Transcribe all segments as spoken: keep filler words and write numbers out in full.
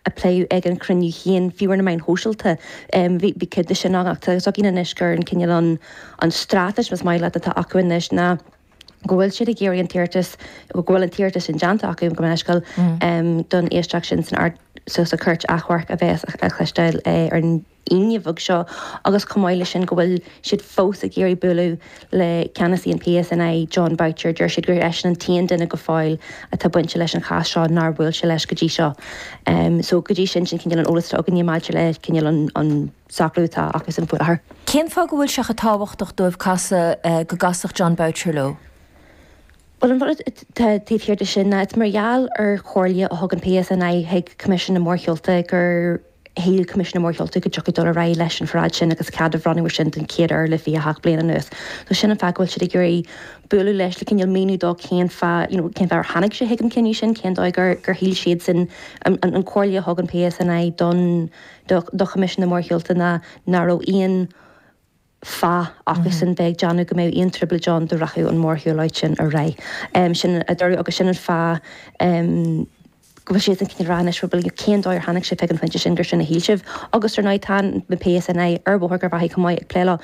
a pléadh ag an chruinniú féin, fiú ar na meáin shóisialta, bhí bhí cuid de sin ann ach tá fhios againn anois gur an cineál an an straitéis más maith leat atá acu anois ná go bhfuil siad ag iarraidh an t-iarratas, go bhfuil an t-iarratas sin déanta acu, gabh mo leithscéal, don éisteacht sin san Ard sa sa Chúirt Achomhairc a bheas á chloisteáil ar an Aoine bheag seo agus chomh maith leis sin go bhfuil siad fós ag iarraidh bualadh le ceannasaí an PSNI, Jon Boutcher. Deir siad gur eisean an t-aon duine go fóill atá bainte leis an chás seo nár bhuail sé leis go dtí seo. So go dtí sin, sin cineál an eolas atá againne maidir le cineál an an socrú atá acusan faoi láthair. Cén fáth go bhfuil sé chomh tábhachtach dóibh casadh, go gcasfadh Jon Boutcher leo? Bhuel, an rud atá taobh thiar de sin ná it's mar gheall ar chomhairle a thug an PSNI chuig Coimisiún na Mórshiúlta gur shíl Coimisiún na Mórshiúlta go dtiocfadh dul ar aghaidh leis an pharáid sin agus cead a bhronnadh air sin den chéad uair le fiche a hocht bliain anuas. So sin an fáth go bhfuil siad ag iarraidh bualadh leis le cineál míniú dó cén fáth, you know, cén fáth ar tháinig sé chuig an cinneadh sin, cén dóigh gur gur shíl siadsan an an chomhairle a thug an PSNI don do do Choimisiún na Mórshiúlta ná nach raibh aon fáth acusan bheith ag déanamh go mbeadh aon trioblóid ann dá rachadh an mhórshiúlóid sin ar aghaidh. Sin a dúradh agus sin an fáth go bhfuil siad ag cineál rá anois bhuel cén dóigh ar tháinig sibh chuig an phointe sin gur sin a shíl sibh. Agus ar ndóigh tá na PSNI ar Bhóthar Gharbhachaidh chomh maith ag plé leo.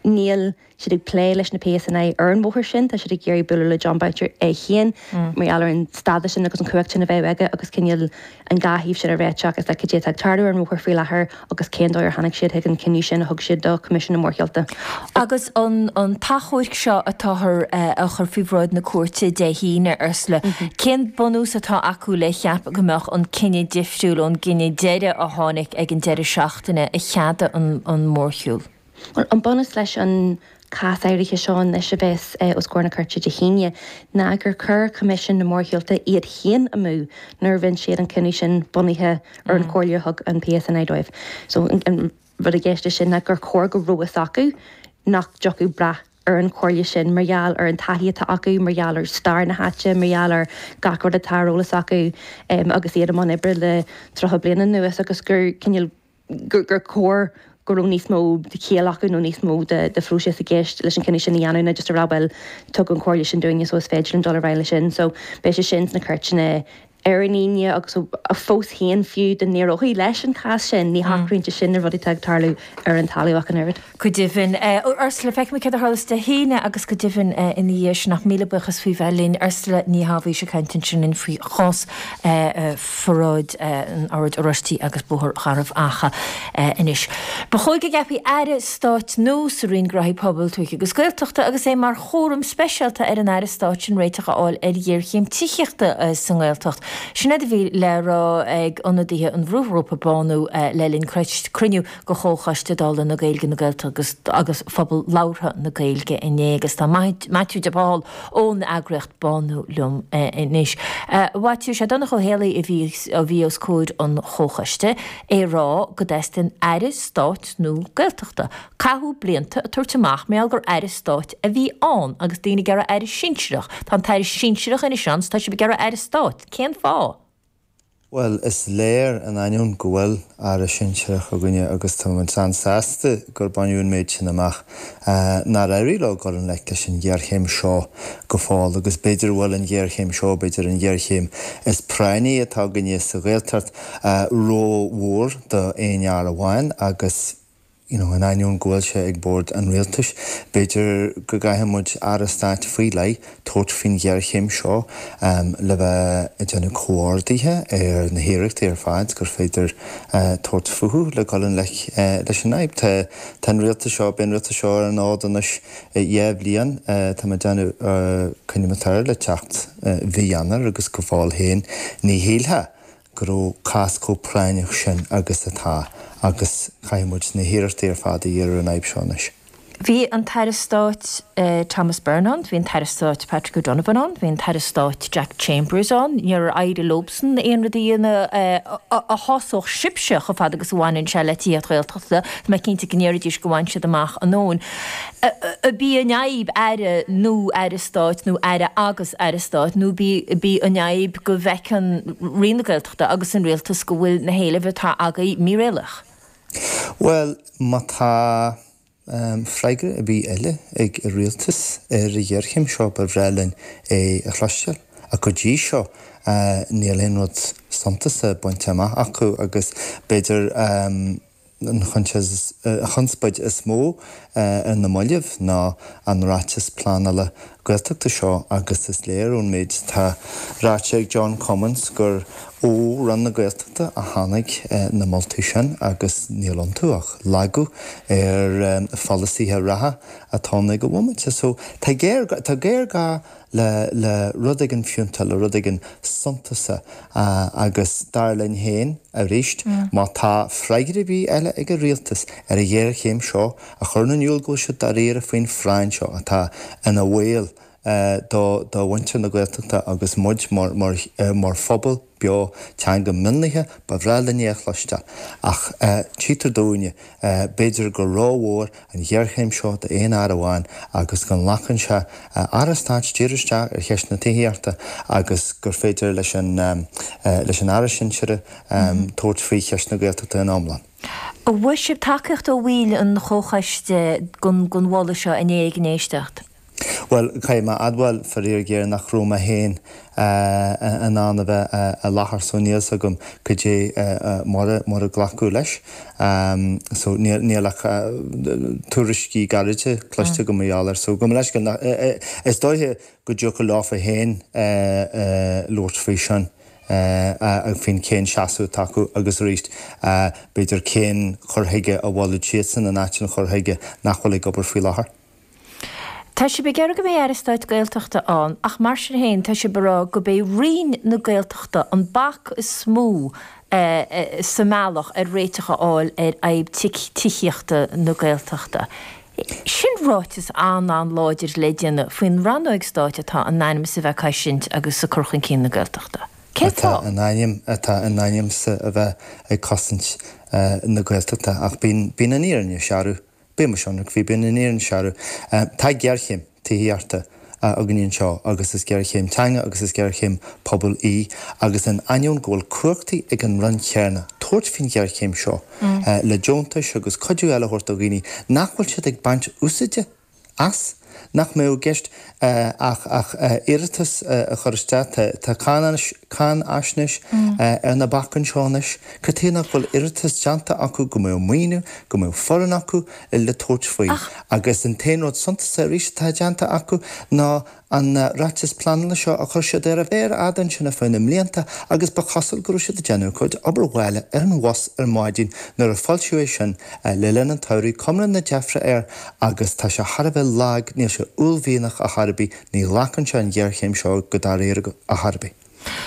Níl siad ag plé leis na PSNI ar an bhóthar sin, tá siad ag iarraidh bualadh le Jon Boutcher é féin mar gheall ar an stádas sin agus an chumhacht sin a bheadh aige agus cineál an dhá thaobh sin a réiteach is le cad é atá ag tarlú ar an bhóthar faoi láthair agus cén dóigh ar tháinig siad chuig an cinneadh sin a thug siad do Choimisiún na Mórshiúlta. Agus an an t-achomharc seo atáthar a chur faoi bhráid na cúirte Dé hAoine, Ursula, cén bunús atá acu le ceapadh go mbeadh an cinneadh difriúil ón gcinneadh deiridh a tháinig ag an deireadh seachtaine a cheadaigh an an mórshiúl? Bhuel, an bunús leis an cás áirithe seo anois a bheas os comhair na cúirte Dé hAoine ná gur chuir Coimisiún na Mórshiúlta iad féin amú nuair a rinne siad an cinneadh sin bunaithe ar an chomhairle a thug an PSNI dóibh. So an rud i gceist leis sin ná gur chóir go raibh fhios acu nach dtiocfadh brath ar an chomhairle sin mar gheall ar an taithí atá acu, mar gheall ar stair na háite, mar gheall ar gach rud atá ar eolas acu agus iad i mbun oibre le tríocha bliain anuas agus gur cineál gur gur chóir go raibh níos mó de chiall acu nó níos mó de de phróiseas i gceist leis an cinneadh sin a dhéanamh ná just a rá bhuel tugadh an chomhairle sin dúinne so is féidir linn dul ar aghaidh leis sin. So beidh sé sin sna cúirteanna ar an Aoine agus fós féin fiú dá n-éireofaí leis an chás sin ní shocraíonn sé sin na rudaí atá ag tarlú ar an talamh ach an oiread. Go deimhin. Ursula, feicfimid céard a tharlós Dé hAoine agus go deimhin ina dhiaidh sin ach míle buíochas faoi bheith linn. Ursula Ní Shábhaois ag caint ansin linn faoi chás pharáid an Oird Oráistigh agus Bóthar Gharbh Achaidh anois. Ba chóir go gceapfaí Aire Stáit nua sa Roinn Gnóthaí Pobail, Tuaithe agus Gaeltachta agus é mar chúram speisialta ar an Aire Stáit sin réiteach a fháil ar ghéarchéim tithíochta sa nGaeltacht. Sin é a bhí le rá ag ionadaithe an bhrúghrúpa Bánú le linn cruinniú de Chomhchoiste Dála na Gaeilge, na Gaeltachta agus Phobal Labhartha na Gaeilge inné agus tá Maitiú de Pál ón eagraíocht Bánú liom anois. A Mhaitiú, sé Donncha Ó Héalaí a bhí a bhí os comhair an Chomhchoiste, é ag rá go dteastaíonn Aire Stáit nua Gaeltachta. Caitheadh blianta ag tabhairt amach mar gheall gur Aire Stáit a bhí ann agus daoine ag iarraidh Aire Sinsearach. Tá an tAire Sinsearach anois ann 's tá sibh ag iarraidh Aire Stáit. Cén fáth? Bhuel, is léir in ainneoin go bhfuil Aire Sinsearach againne agus tá muid an-sásta gur baineadh an méid sin amach, nár éirigh leo dul i ngleic leis an ghéarchéim seo go fóill agus b'fhéidir go bhfuil an ghéarchéim seo, b'fhéidir an ghéarchéim is práinní atá againne sa Ghaeltacht, rómhór d'aon fhear amháin agus. you know, in ainneoin go bhfuil sé ag bord an rialtais, b'fhéidir go gcaithfidh muid Aire Stáit faoi leith tabhairt faoin ghéarchéim seo le bheith ag déanamh comhordaithe ar na hiarrachtaí ar fad gur féidir tabhairt fúthu le dul i ngleic leis an fhadhb. Tá tá an rialtas seo, beidh an rialtas seo ar an fhód anois dhá bhliain, tá mé ag déanamh coinneoidh mé air le teacht mhí Eanáir agus go fóill féin ní shílfeá go raibh cás chomh práinneach sin agus atá agus caithfidh muid na hiarrachtaí ar fad a dhíriú ar an fhadhb seo anois. Bhí an tAire Stáit Thomas Byrne ann, bhí an tAire Stáit Patrick O'Donovan ann, bhí an tAire Stáit Jack Chambers ann. Níor éirigh leobsan aon rud a dhéanamh a shásódh sibhse chomh fada agus a bhaineann sé le tithíocht Ghaeltachta. Tá mé cinnte go ndéarfaidís go bhain siad amach a ndóthain. Ab í an fhadhb Aire nó Aire Stáit nó Aire agus Aire Stáit nó ab í an fhadhb go bhfeiceann Roinn na Gaeltachta agus an Rialtas go bhfuil na héilimh atá agaibh míréalaíoch? Bhuel, má tá freagra ar bith eile ag an Rialtas ar an ghéarchéim seo, ba bhreá linn é a chloisteáil. Ach go dtí seo níl aon rud suntasach bainte amach acu agus b'fhéidir an chonspóid is mó ar na mallaibh ná an ráiteas pleanála Gaeltachta seo agus is léir ón méid atá ráite ag John Cummins gur ó Roinn na Gaeltachta a tháinig na moltaí sin agus níl iontu ach lagú ar pholasaithe reatha atá ann ag an bhomaite. So tá géarghá le le rud éigin fiúntach, le rud éigin suntasach agus dar linn féin arís, má tá freagra ar bith eile ag an rialtas ar an ghéarchéim seo a chuireann in iúl go bhfuil siad dáiríre faoin phráinn seo atá ina bhaol do do mhuintir na Gaeltachta agus muid mar mar mar phobal beo teanga mionlaithe, ba bhreá linn é a chloisteáil. Ach tchítear dúinne, b'fhéidir gur rómhór an ghéarchéim seo d'aon fhear amháin agus go nglacann sé Aire Stáit díriú isteach ar cheist na tithíochta agus gur féidir leis an leis an Aire sinsearach tabhairt faoi cheist na Gaeltachta ina iomlán. An bhfuair sibh tacaíocht ó bhaill an chomhchoiste don mholadh seo inné ag an éisteacht? Bhuel, caithfidh mé a admháil, faraor géar, nach raibh mé féin in ann a bheith i láthair so níl 's agam cad é mar mar a glacadh leis. So níl níl ach tuairiscí gairide cloiste agam mar gheall air. So gabh mo leithscéal, is dóiche go dtiocfadh leofa féin labhairt faoi sin, faoin cén seasamh atá acu agus arís b'fhéidir cén cur chuige a mholfadh siadsan in áit an chur chuige nach bhfuil ag obair faoi láthair. Tá sibh ag iarraidh go mbeidh Aire Stáit Gaeltachta ann ach mar sin féin tá sibh ag rá go b'é Roinn na Gaeltachta an bac is mó sa mbealach ar réiteach a fháil ar fhadhb tithíochta na Gaeltachta. Sin ráiteas an-an-láidir le déanamh faoin rannóg stáit atá in ainm is a bheith ag cosaint agus ag cur chun cinn na Gaeltachta. Cén Atá fáth? in ainm atá in ainm 's a bheith ag cosaint na Gaeltachta ach bíonn bíonn an fhírinne searbh. Bíonn mise ionraic faoi, bíonn an fhírinne searbh. Tá géarchéim tithíochta againn anseo agus is géarchéim teanga agus is géarchéim pobail í agus in ainneoin go bhfuil cumhachtaí ag an Roinn chéanna tabhairt faoin ghéarchéim seo le deontais agus cuidiú eile a thabhairt do dhaoine nach bhfuil siad ag baint úsáide as, nach mbeadh i gceist ach ach iarratas a chur isteach. Tá cáinfhaisnéis ar na bacáin seo anois. Cad chuige nach bhfuil iarratas déanta acu go mbeadh maoiniú, go mbeadh foireann acu le tabhairt faoi? Agus an t-aon rud suntasach arís atá déanta acu ná an ráiteas pleanála seo a chuir siad ar a mhéar fhada ansin ar feadh na mblianta agus ba chosúil go raibh siad ag déanamh a gcuid obair bhaile ar an bhus ar maidin nuair a foilsíodh é sin le linn an tsamhraidh, cuma na deifre air agus tá sé thar a bheith lag, níl sé uaillmhianach ar chor ar bith, ní ghlacann sé an ghéarchéim seo go dáiríre ar chor ar bith.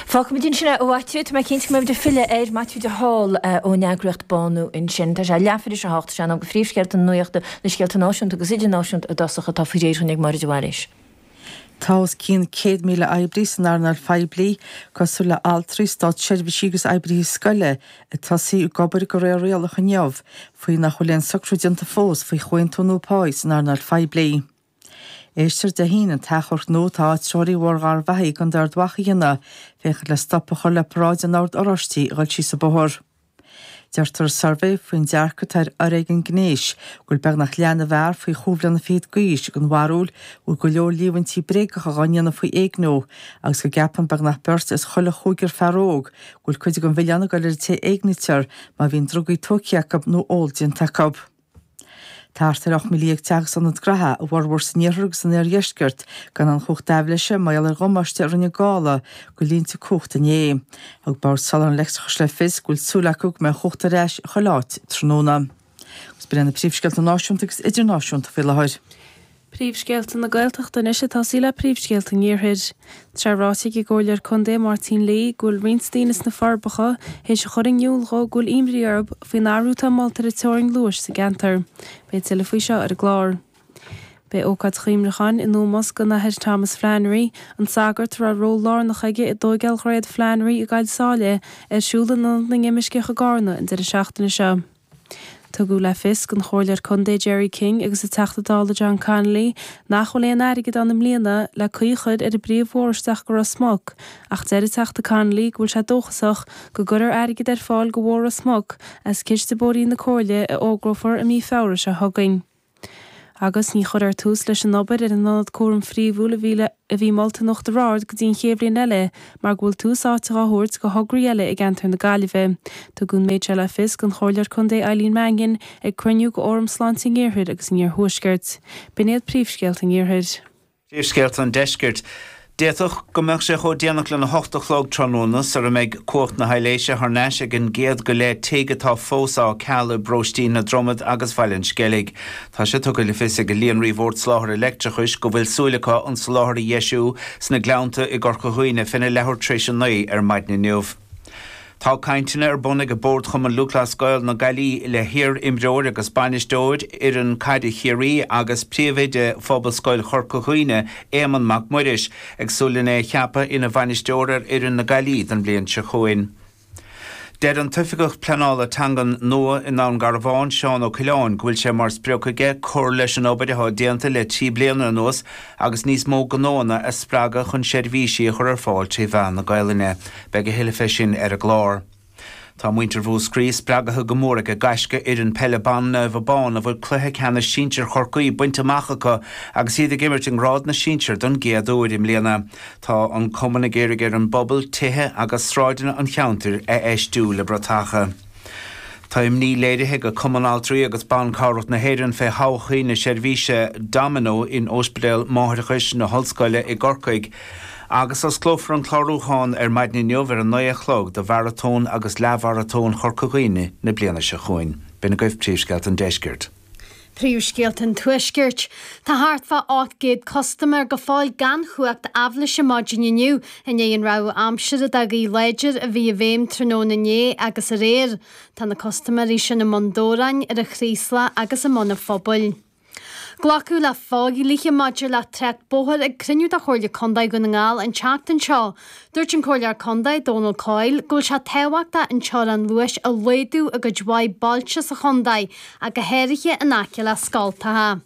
Fágfaimid ansin é, a Mhaitiú. Tá mé cinnte go mbeimid ag filleadh air. Maitiú de Hál ón eagraíocht Bánú ansin. Tá sé leathuair tar éis a hocht, sé in am do phríomhscéalta na nuachta, na scéalta náisiúnta agus idirnáisiúnta i dtosach atá faoi réir againn ag Máire de Bhailís. Tá os cionn céad míle oibrí san earnáil phoiblí, cosúil le altraí, státseirbhísigh agus oibrithe scoile, ag tosaí ag obair de réir rialach inniu faoi nach bhfuil aon socrú déanta fós faoi chomhaontú nua páí san earnáil phoiblí. Éistfear Dé hAoine an t-achomharc nua atá áitritheoirí Bhóthar Gharbhachaidh i gContae Ard Mhacha a dhéanamh féachaint le stop a chur le paráid an Oird Oráistigh a dhul síos an bóthar. Deirtear i suirbhé faoin dearcadh atá ar fhoréigean gnéis go bhfuil beagnach leath na bhfear faoi chúig bhliana fichead d'aois den bharúil go bhfuil go leor líomhaintí bréagacha dhá ndéanamh faoi éigniú agus go gceapann beagnach beirt as chuile chúigear fear óg go bhfuil cuid den mhilleán ag dul ar an té a éignítear má bhíonn drugaí tógtha acu nó ól déanta acu. Tá thart ar ocht míle dhéag teach agus ionad gnaithe, a bhformhór san iarthar agus san oirdheisceart, gan aon chumhacht aibhléise mar gheall ar dhamáiste a rinne gála do línte cumhachta inné. Thug Bord Soláthair an Leictreachais le fios go bhfuil súil acu go mbeidh an chumhacht ar ais chuile áit tráthnóna. Agus b'in iad na príomhscéalta náisiúnta agus idirnáisiúnta faoi láthair. Príomhscéalta na Gaeltachta anois ag tosaí le príomhscéalta an Iarthair. Tá sé ráite ag an gComhairleoir Contae Máirtín Lee go bhfuil roinnt daoine sna Forbacha théis a chur in iúl dhó go bhfuil imní orthu faoin athrú atá molta ar an teorainn luais sa gceantar. Beidh tuilleadh faoi seo ar an gclár. Beidh ócáid chuimhneacháin in ómós don Athair Thomas Flannery, an sagart a raibh ról lárnach aige i dtóigeáil Dhroichead Flannery i gCoill Sáile, ar siúl in Ionad na nImirceach i gCarna an deireadh seachtaine seo. Tugadh le fios don Chomhairleoir Contae Gerry King agus an Teachta Dála John Connolly nach bhfuil aon airgead ann i mbliana le caoi a chur ar an bpríomhbhóthar isteach go Ros Muc ach deir an Teachta Connolly go bhfuil sé dóchasach go gcuirfear airgead ar fáil do Bhóthar Ros Muc as Ciste Bóithrí na Comhairle a fhógrófar i mí Feabhra seo chugainn. Agus ní chuirfear tús leis an obair ar an ionad cúraim phríomhúil a bhí a bhí molta in Uachtar Ard go dtí an chéad bhliain eile mar go bhfuil tús áite á thabhairt do thograí eile i gceantar na Gaillimhe. Tugadh an méid seo le fios don Chomhairleoir Contae Eileen Mannion ag cruinniú de Fhóram Sláinte an Iarthair agus an Iarthuaiscirt. B'in iad príomhscéalta an Iarthair. Príomhscéalta an Deiscirt. D'fhéadfadh go mbeadh sé chomh déanach lena hocht a chlog tráthnóna sara mbeidh cumhacht na haibhléise thar n-ais ag an gcéad go leith tigh atá fós á ceal i bparóistí na Dromad agus Bhaile an Sceilg. Tá sé tugtha le fios ag Líonraí Bhord Soláthair Leictreachais go bhfuil súil acu an soláthar a dheisiú sna Gleannta i gCorca Dhuibhne féna leathuair tar éis a naoi ar maidin inniu. Tá cainteanna ar bun ag Bord Chumann Lúthchleas Gael na Gaillimhe le hiar-imreoir agus bainisteoir fhoireann caide Chiarraí agus príomhoide Phobalscoil Chorca Dhuibhne, Éamonn Mac Muiris, ag súil lena é a cheapadh ina bhainisteoir ar fhoireann na Gaillimhe don bhliain seo chugainn. Deir an tOifigeach Pleanála Teangan nua i nDún Garbhán, Seán Ó Coileáin, go bhfuil sé mar sprioc aige cur leis an obair atá déanta le trí bliana anuas agus níos mó gnóanna a spreagadh chun seirbhísí a chur ar fáil trí mheán na Gaelainne. Beidh a thuilleadh fé sin ar an gclár. Tá muintir Mhúscraí spreagaithe go mór ag gaisce fhoireann peile ban Naomh Abán a bhfuil cluiche ceannais sinsir Chorcaí bainte amach acu agus iad ag imirt i ngrád na sinsear don gcéad uair i mbliana. Tá an cumann ag iarraidh ar an bpobal tithe agus sráideanna an cheantair a fheistiú le bratacha. Tá imní léirithe ag Cumann Altraí agus Ban Cabhrach na hÉireann fé thodhchaí na seirbhíse Domino in Ospidéal Máithreachais na hOllscoile i gCorcaigh agus osclófar an clárúchán ar maidin inniu ar a naoi a chlog do Mharatón agus Leathmharatón Chorca Dhuibhne na bliana seo chugainn. B'in agaibh príomhscéalta an Deiscirt. Príomhscéalta an Tuaiscirt. Tá thart fá ocht gcéad custaiméir go fóill gan chumhacht aibhléise maidin inniu i ndiaidh an rabhadh aimsire de ghaoth láidir a bhí i bhfeidhm tráthnóna inné agus aréir. Tá na custaiméirí sin i mBun Dobhráin, ar an Chraoslach agus i mBun an Phobail. Glacadh le fodhlíthe maidir le trácht bóthair ag cruinniú de Chomhairle Contae Dhún na nGall an tseachtain seo. Dúirt an Comhairleoir Contae, Dónal Coyle, go bhfuil sé tábhachtach an teorainn luais a laghdú i gcuid mhaith bailte sa chontae, ach go háirithe in aice le scoltacha.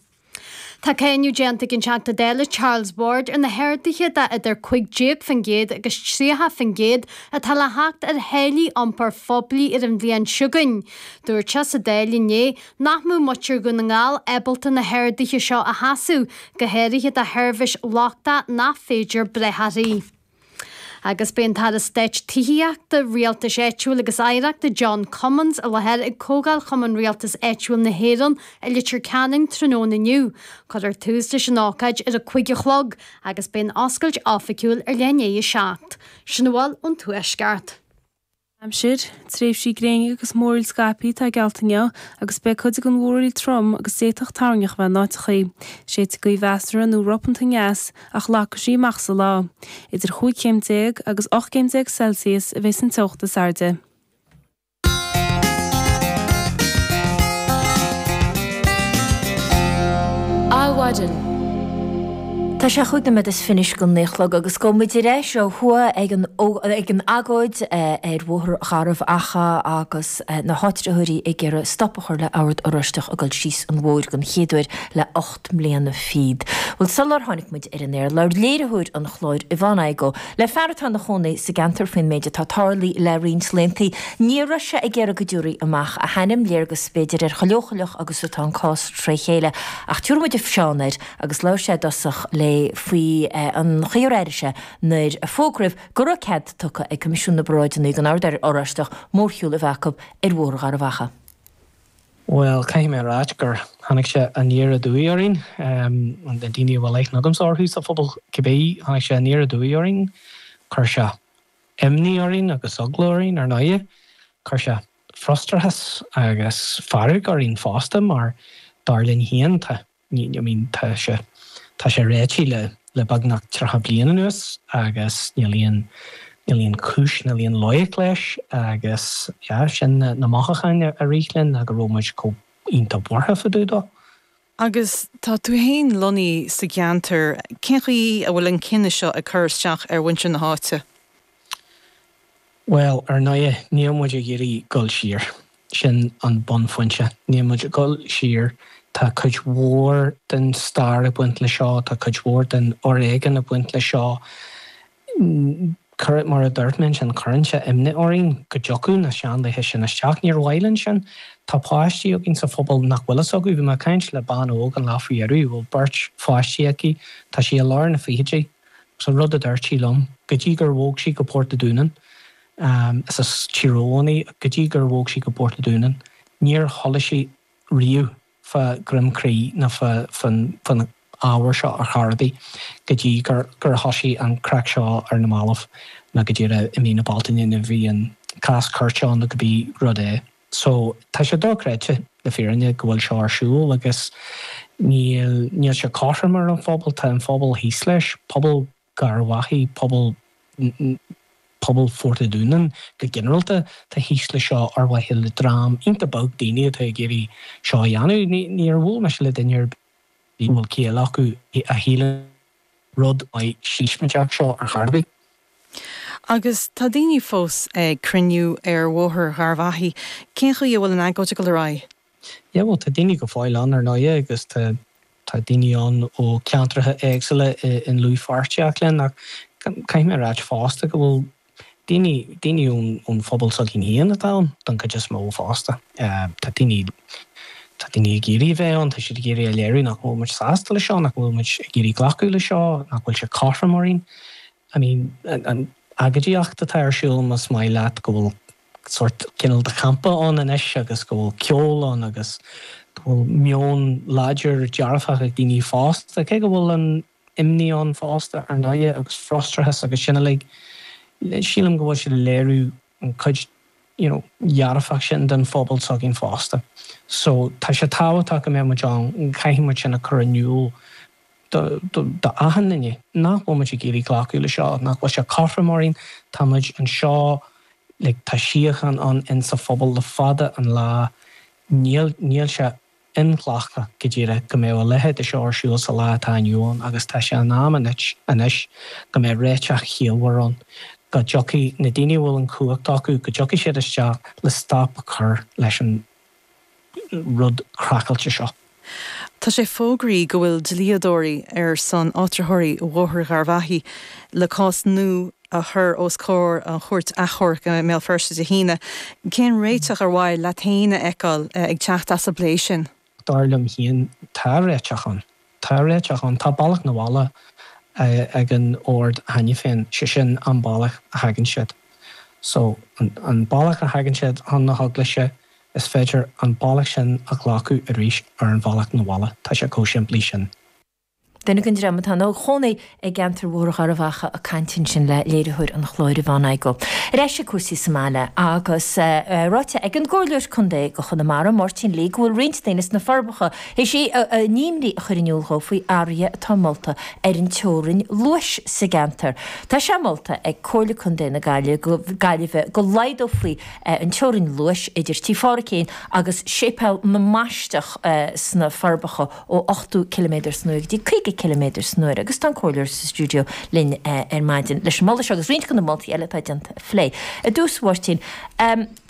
Tá cáineadh déanta ag an Teachta Dála Charles Ward ar na harduithe de idir cúig déag faoin gcéad agus tríocha faoin gcéad atá le theacht ar tháillí iompair phoiblí ar an bhliain seo chugainn. Dúirt sé sa Dáil inné nach mbeadh muintir Dhún na nGall ábalta na harduithe seo a sheasamh, go háirithe do sheirbhís lochtach nach féidir brath uirthi. Agus beidh an tAire Stáit Tithíochta, Rialtais Áitiúil agus Oidhreachta John Cummins i láthair ag Comhdháil Chumann Rialtais Áitiúil na hÉireann i Leitir Ceanainn tráthnóna inniu. Cuirfear tús leis an ócáid ar a cúig a chlog agus beidh an oscailt oifigiúil ar leath i ndiaidh a seacht. Sin a bhfuil ón Tuaisceart. Aimsir, Tréimhsí gréine agus múraíl scaipthe atá geallta inniu agus beidh cuid den mhúraíl trom agus d'fhéadfadh toirneach a bheith in áiteachaí. Séidfidh gaoth mheasartha nó ropanta aneas ach lagfaidh sí amach sa lá. Idir chúig chéim déag agus ocht gcéim déag Celsius a bheas an teocht is airde. Adhmhaidin. Tá sé chúig nóiméad is fiche don naoi a chlog agus gabhfaidh muid ar ais ó thuaidh ag an ag an agóid ar Bhóthar Gharbh Achaidh agus na háitritheoirí ag iarraidh stop a chur le Ord Oráisteach ag dul síos an bhóthair den chéad uair le ocht mbliana fichead. Bhuel sular tháinig muid ar an aer, labhair léiritheoir an chláir Yvonne Igoe le fear atá ina chónaí sa gceantar faoin méid atá tarlaithe le roinnt laethanta. Ní raibh sé ag iarraidh go dtabharfaí amach a hainm, léargas b'fhéidir ar chomh leochaileach agus atá an cás tré chéile ach tabharfaidh muid Seán air agus labhair sé i dtosach léi faoi an chaoi ar airigh sé nuair a fógraíodh go raibh cead tugtha ag Coimisiún na bParáideanna don Ord Oráisteach mórshiúl a bheith acu ar Bhóthar Gharbh Achaidh. Bhuel, caithfidh mé a ráit gur tháinig sé aniar aduaidh orainn, na daoine a bhfuil aithne agamsa orthu sa phobal cibé, tháinig sé aniar aduaidh orainn, chuir sé imní orainn agus eagla orainn ar ndóighe, chuir sé frustrachas agus fearg orainn fosta mar dar linn féin tá I mean tá sé tá sé réitithe le le beagnach tríocha bliain anuas agus níl aon níl aon chúis níl aon loighic leis agus yeah sin na na mothúcháin a rith linn ná go raibh muid chomh iontach buartha fá dtaobh dó. Agus tá tú féin lonnaithe sa gceantar, cén chaoi a bhfuil an cinneadh seo ag cur isteach ar mhuintir na háite? Bhuel, ar ndóighe, níl muid ag iarraidh dul siar. Sin an bunphointe. Níl muid ag dul siar. Tá cuid mhór den stair ag baint le seo, tá cuid mhór den fhoréigean ag baint le seo. Cuir, mar a dúirt mé ansin, cuireann sé imní orainn go dtiocfadh na seanlaethe sin isteach. Níor mhaith linn sin. Tá páistí againn sa phobal nach bhfuil fhios acu. Bhí mé ag caint le bean óg an lá faoi dheireadh a bhfuil beirt pháistí aici, tá sí i lár na fichidí, agus an rud a dúirt sí liom, go dtí gur bhog sí go Port a' Dúnáin, is as Tír Eoghain í, go dtí gur bhog sí go Port a' Dúnáin, níor chuala sí riamh fá Dhroim Crí ná fán ábhar seo ar chor ar bith go dtí gur thosaigh an craic seo ar na mallaibh nó go díreach i mí na Bealtaine nuair a bhí an cás cúirte ann nó cibé rud é. So tá sé dochreidte le fírinne go bhfuil seo ar siúl agus níl níl sé cothrom ar an phobal, tá an phobal thíos leis, pobal Gharbhachaidh, pobal pobal Phort a' Dúnáin go ginearálta, tá thíos le seo ar mhaithe le dream iontach beag daoine atá ag iarraidh seo a dhéanamh. Níor bhuail mise le duine ar bith a bhfuil ciall acu a shíleann rud maith sísmaideach seo ar chor ar bith. Agus tá daoine fós ag cruinniú ar Bhóthar Gharbhachaidh. Cén chaoi a bhfuil an agóid ag dul ar aghaidh? Yeah, bhuel, tá daoine go fóill ann, ar ndóighe, agus tá tá daoine ann ó cheantracha éagsúla i ndlúthpháirtíocht linn, ach caithfidh mé a ráit fosta go bhfuil daoine, daoine ón ón phobal s'againn féin atá ann don chuid is mó fosta. Tá daoine, tá daoine ag iarraidh a bheith ann, tá siad ag iarraidh a léiriú nach bhfuil muid sásta le seo, nach bhfuil muid ag iarraidh glacadh le seo, nach bhfuil sé cothrom orainn. I mean, an agóidíocht atá ar siúl, más maith leat, go bhfuil sórt cineál de champa ann anois agus go bhfuil ceol ann agus go bhfuil meon láidir dearfach ag daoine fosta, cé go bhfuil an imní ann fosta, ar ndóighe, agus frustrachas agus sin uilig, sílim go bhfuil siad ag léiriú an chuid you know dhearfach sin den phobal s'againn fosta. So tá sé tábhachtach go mbeadh muid ann, caithfidh muid sin a chur in iúl do do achan duine, nach bhfuil muid ag iarraidh glacadh le seo, nach bhfuil sé cothrom orainn, tá muid anseo, like tá síocháin ann insa phobal le fada an lá, níl níl sé inghlactha go díreach go mbeadh a leithéid de seo ar siúl sa lá atá inniu ann agus tá sé in am anois anois go mbeadh réiteach chiallmhar ann, go dtiocfaidh na daoine a bhfuil an chumhacht acu, go dtiocfaidh siad isteach le stop a chur leis an rud craiceáilte seo. Tá sé fógraithe go bhfuil dlíodóirí ar son áitritheoirí Bhóthar Gharbhachaidh le cás nua a chur os comhair an Chúirt Achomhairc i mBéal Feirste Dé hAoine. Cén réiteach ar mhaith leat féin a fheiceáil ag teacht as an bplé sin? Dar liom féin, tá réiteach ann. Tá réiteach ann. Tá bealach na bhaile ag an Ord cheana féin, sé sin an bealach a thagann siad. So, an bealach a thagann siad chun na heaglaise, is féidir an bealach sin a ghlacadh arís ar an bhealach na bhaile. Tá sé chomh simplí sin. Duine den dream atá ina chónaí i gceantar Bhóthar Gharbhachaidh ag caint ansin le léiritheoir an chláir Yvonne Igoe. Ar ais ag cúrsaí sa mbaile agus ráite ag an gComhairleoir Contae do Chonamara, Máirtín Lee, go bhfuil roinnt daoine sna Forbacha théis a n-imní a chur in iúl dhó faoi athruithe atá molta ar an teorainn luais sa gceantar. Tá sé molta ag Comhairle Contae na Gaillimhe go laghdófaí an teorainn luais idir Tí Pháraic agus Séipéal na mBaisteach sna Forbacha ó ochtó ciliméadar san uair go dtí caoga ciliméadar san uair agus tá an Comhairleoir sa stiúideo linn ar maidin leis an moladh seo agus roinnt de na moltaí eile atá déanta a phlé. I dtús, a Mháirtín,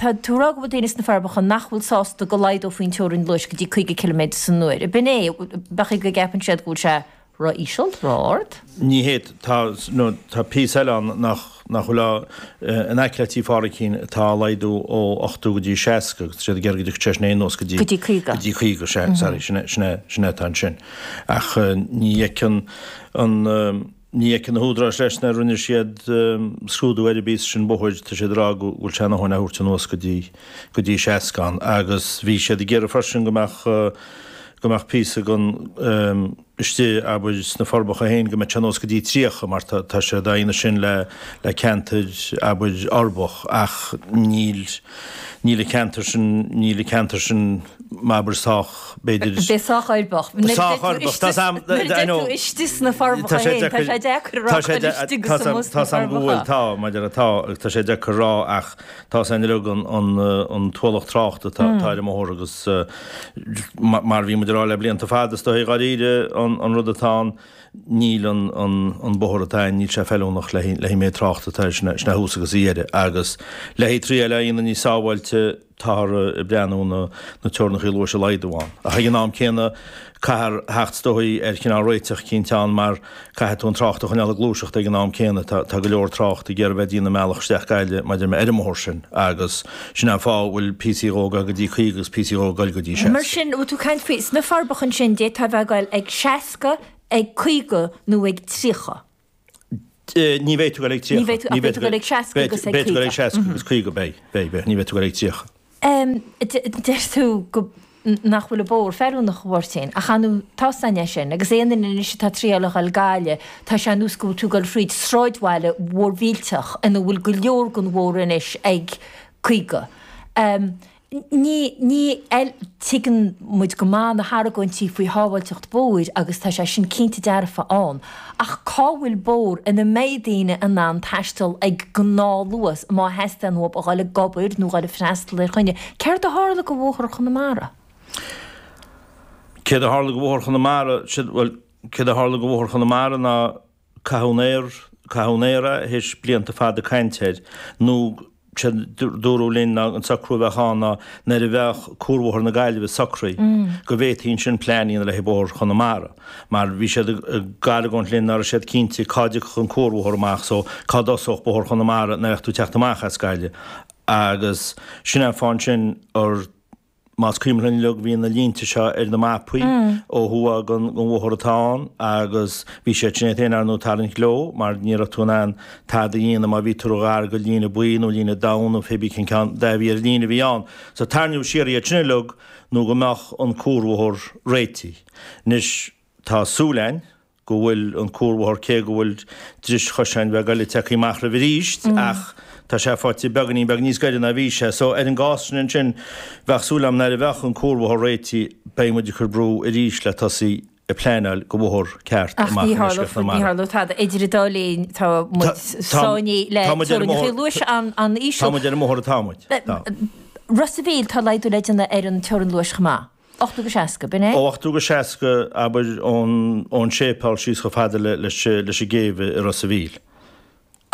tá tú ag rá go bhfuil daoine sna Forbacha nach bhfuil sásta go laghdófaí an teorainn luais go dtí caoga ciliméadar san uair. Ab in é? B'fhéidir go gceapann siad go bhfuil sé ró-íseal, ró-ard? Ní hé, tá, nó tá píosa eile ann nach, nach bhfuil á, in aice le Tí Pháraic atá á laghdú ó ochtó go dtí seasca agus tá siad ag iarraidh go dtiocfadh sé sin anuas go dtí, Go dtí caoga. go dtí caoga, sea, sorry, sin é, sin é, sin é atá ansin. Ach ní fheiceann an, ní fheiceann na húdaráis leis nár rinne siad scrúdú ar an bpíosa sin bóthair, tá siad ag rá go bhfuil sé ina dhóthain a thabhairt anuas go dtí, go dtí seasca ann. Agus bhí siad ag iarraidh freisin go mbeadh, go mbeadh píosa den istigh, abair, sna Forbacha féin, go mbeadh sé anuas go dtí tríocha, mar tá tá sé dá dhéanamh sin le le ceantair, abair, uirbeach, ach níl níl an ceantar sin, níl an ceantar sin, abair, sách, b'fhéidir. B'fhéidir sách uirbeach. Sách uirbeach, tá a fhios a'm, I know. Nuair a deir tú istigh sna Forbacha féin, tá sé deacair a rá cá bhfuil istigh agus amuigh sna Tá a fhios a'm go bhfuil, tá, maidir le tá, agus tá sé deacair a rá ach tá a fhios a'inn uilig an an an t-ualach tráchta atá atá ar an mbóthar agus mar a bhí muid ag rá le blianta fada, is dóigh dháiríre an rud atá ann, níl an bóthar atá ann, níl sé feiliúnach le haghaidh an méid tráchta atá air, sin é thuas agus a dheireadh. Agus le haghaidh triail a dhéanamh níos sábháilte, táthar ag breathnú na na teorainneacha luais a laghdú ann. Ach ag an am céanna, caithfear theacht is dóigh ar chineál réiteach eicínt ann mar caithfidh tú an trácht a choinneáil ag gluaiseacht ag an am céanna. Tá tá go leor trácht ag iarraidh bheith ag déanamh a mbealach isteach Gaillimh maidir le ar an mbóthar sin agus sin é an fáth a bhfuil píosaí dhó ag dul go dtí caoga agus píosaí dhó ag dul go dtí Mar seasca. sin, bhfuil tú ag caint faoi sna Forbacha ansin, d'fhéadfá a bheith ag dul ag seasca, ag caoga nó ag tríocha? Ní bheidh tú ag dul ag tríocha. Ní bheidh tú, ach beidh tú ag dul ag seasca agus ag Beidh tú ag dul caoga. ag seasca agus caoga, beidh, beidh, beidh, ní bheidh tú ag dul ag tríocha. Deir tú go nach bhfuil an bóthar feiliúnach, a Mháirtín, ach ar ndóigh tá a fhios againn é sin, agus aon duine anois atá ag triáil a dhul Gaillimh, tá sé ar nós go bhfuil tú ag dul thríd sráidbhaile mhór mhillteach ina bhfuil go leor den bhóthar anois ag caoga. Ní, ní, tuigeann muid go maith na hargóintí faoi shábháilteacht bóthair agus tá sé sin cinnte dearfa ann, ach cá bhfuil bóthar ina mbeidh daoine in ann taisteal ag gnáthluas má theastaíonn uathu a dhul ag obair nó dhul ag freastal ar choinne? Céard a tharla go Bhóthar Chonamara? Céard a tharla go Bhóthar Chonamara? Bhuel, céard a tharla go Bhóthar Chonamara ná caitheadh in aer, caitheadh in aer é théis blianta fada cainte air, nó Séard dúradh linn ná an socrú a bheadh ann ná nuair a bheadh Cuarbhóthar na Gaillimhe socraithe go bhféadfaí ansin plean a dhéanamh le haghaidh Bóthar Chonamara mar bhí siad ag argóint linn ná raibh siad cinnte cá dtiocfadh an cuarbhóthar amach so cá dtosódh Bóthar Chonamara nuair a bheadh tú ag teacht amach as Gaillimh agus sin é an fáth ansin ar Más cuimhin linn uilig bhí na línte seo ar na mapaí ó thuaidh den bhóthar atá ann agus bhí siad sin iad féin ar ndóigh tarraingt leo mar ní raibh tú in ann tada a dhéanamh má bhí tú ró-ghar go líne buí nó líne donn nó pé bí cén ceann dath a bhí ar an líne a bhí ann. So tarraingíodh siar iad sin uilig nó go mbeadh an cuarbhóthar réitithe. Anois tá súil againn go bhfuil an cuarbhóthar, cé go bhfuil dris choiseáin bheag eile tagtha amach roimh arís, ach tá sé faighte beagáinín beag níos gaire ná bhí sé. So, ar an gcás sin ansin, bheadh súil agam nuair a bheadh an cuarbhóthar réitithe, beidh muid ag cur brú arís le tosaí ag pleanáil go bhóthar ceart Ach amach ní i ndeisceart tharlóidh, ní Chonamara. tharlóidh tada. Idir an dá linn, tá muid sáinnithe le Tá muid ar an teorainneacha mbóthar, luais an-íseal. tá muid ar an mbóthar atá muid. Tá. Ros a' Mhíl, tá laghdú le déanamh ar an teorainn luais chomh maith. Ochtó go seasca, b'in é? Ó ochtó go seasca, abair, ón ón séipéal síos chomh fada le leis leis an gcéibh i Ros a' Mhíl.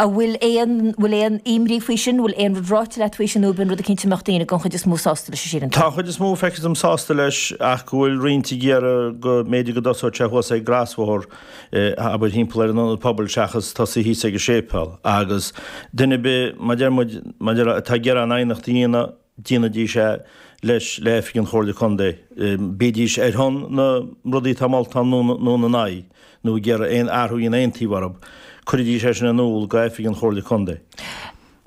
An bhfuil aon, bhfuil aon imní faoi sin, bhfuil aon rud ráite leat faoi sin nó ab in rud eicínt a mbeadh daoine den chuid is mó sásta leis a síleann tú? Tá an chuid is mó, feictear dom, sásta leis ach go bhfuil roinnt ag iarraidh go mb'fhéidir go dtosódh sé thuas ag an gcrosbhóthar, abair, thimpeall ar an ionad pobail seachas tosaí thíos ag an séipéal. Agus duine ar bith, mar deir muid, mar deir, atá ag iarraidh an aighneacht a dhéanamh, déanaidís é leis le oifig an Chomhairle Contae, bídís ar shon na rudaí atá molta ann nó ina n-aghaidh, nó ag iarraidh aon athrú a dhéanamh aon taobh orthu, cuiridís é sin in iúl go oifig an Chomhairle Contae.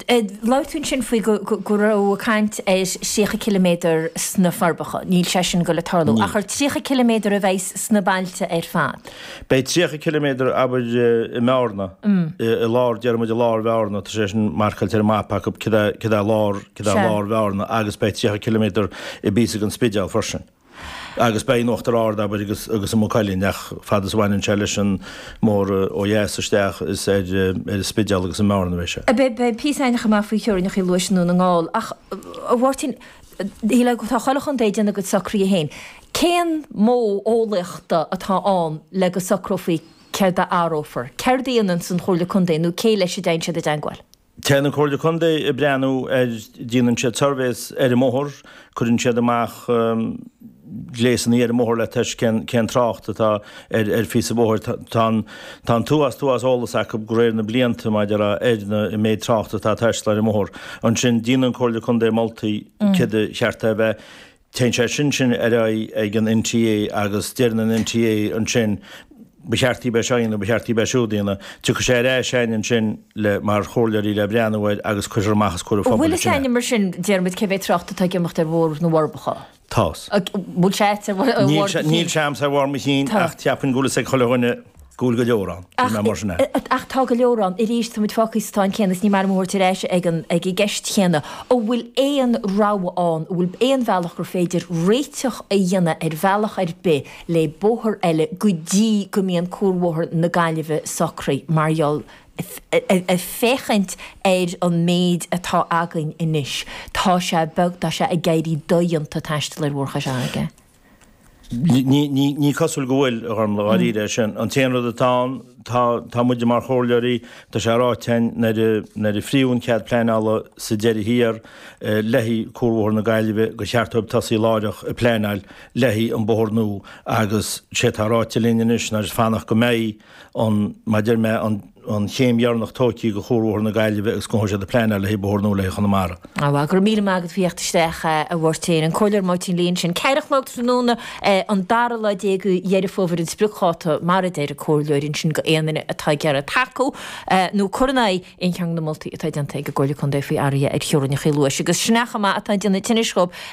Labhair tú ansin faoi go raibh caint ar thríocha ciliméadar sna Forbacha. Níl sé sin ag goil ag tarlú. Níl. Ach ar tríocha ciliméadar a bheas sna bailte ar fad? Beidh tríocha ciliméadar, abair, i mBearna, i lár, déarfaidh muid i lár Bhearna, tá sé sin marcáilte ar an mapa acu, cad é, cad é lár, cad é lár Bhearna agus beidh tríocha ciliméadar i bpíosa den Spidéal freisin. Agus beidh in Uachtar Ard, abair, agus, agus i Maigh Cuilinn, ach fad is a bhaineann sé leis an mbóthar ó dheas isteach is ar, ar an Spidéal agus i mBearna a bheidh sé. Beidh, beidh píosa againn chomh maith faoi theorainneacha luais i nDún na nGall ach, a Mháirtín, tá chuile chontae ag déanamh a gcuid socruithe féin. Cén modh eolaíochta atá ann le go socrófaí céard a athrófar? Céard a dhéananns an Chomhairle Contae nó cé leis a dtéann siad i dteangmháil? Téann an Chomhairle Contae ag breathnú ar, déanann siad surveys ar an mbóthar, cuireann siad amach gléasanna ar an mbóthar le tomhas cén cén trácht atá ar ar phíosa bóthair. Tá an tá an t-uafás t-uafás eolas acu de réir na blianta maidir le ar na an méid trácht atá ag taisteal ar an mbóthar. Ansin déanann an Chomhairle Contae moltaí céard a cheart é a bheith. Téann sé sin sin ar aghaidh ag an NTA agus deireann an NTA ansin ba cheart daoibh é seo a dhéanamh, ba cheart daoibh é siúd a dhéanamh. Tiocfaidh sé ar ais chugainn ansin le mar chomhairleoirí le breathnú air agus cuirfear amach os comhair an An phobail bhfuil fhios ansin é. a'inne mar sin, déarfaidh muid, cé mhéad trácht atá ag imeacht ar Bhóthar na bhForbacha? Tá's. Bhfuil sé a'd ar bharr Níl do sé, chinn? níl sé a'msa ar bharr mo chinn Tá. ach cheapfainn go bhfuil fhios ag chuile dhuine go bhfuil go leor ann. Ach, Níl mé mar sin é. ach tá go leor ann. Arís, tá muid fágtha sa tsáinn chéanna is ní maith liom a thabhairt ar ais ag an, ag an gceist chéanna. An bhfuil aon rogha ann, an bhfuil aon bhealach gur féidir réiteach a dhéanamh ar bhealach ar bith le bóthar eile go dtí go mbíonn Cuarbhóthar na Gaillimhe socraithe mar gheall ag féachaint ar an méid atá againn anois, tá sé beag, tá sé ag éirí dodhéanta taisteal ar Bhóthar Chois Fharraige. Ní cosúil go bhfuil, a Ghormlaith, dháiríre é sin. An t-aon rud atá ann, tá tá muide mar chomhairleoirí, tá sé ráite againn nuair a nuair a frítheadh an cead pleanála sa deireadh thiar le haghaidh Cuarbhóthar na Gaillimhe gur cheart dóibh tosaí láithreach ag pleanáil le haghaidh an bóthar nua agus sé atá ráite linn anois ná just fanacht go mbeidh an, mar a deir mé, an an chéim dheireanach tógtha de Chuarbhóthar na Gaillimhe agus go dtosóidh siad ag pleanáil le haghaidh bóthar nua le haghaidh Chonamara. Á bhuel, go raibh míle maith agat faoi theacht isteach, a Mháirtín. An Comhairleoir Máirtín Lee ansin. Ceithre a chlog tráthnóna an dara lá déag de Dheireadh Fómhair an spriocdháta, mar a deir an Comhairleoir ansin, go aon duine atá ag iarraidh tacú nó cur in aghaidh aon cheann de na moltaí atá déanta ag an gComhairle Contae faoi athruithe ar theorainneacha Luais. Agus sin é chomh maith atá ag déanamh tinnis dhób.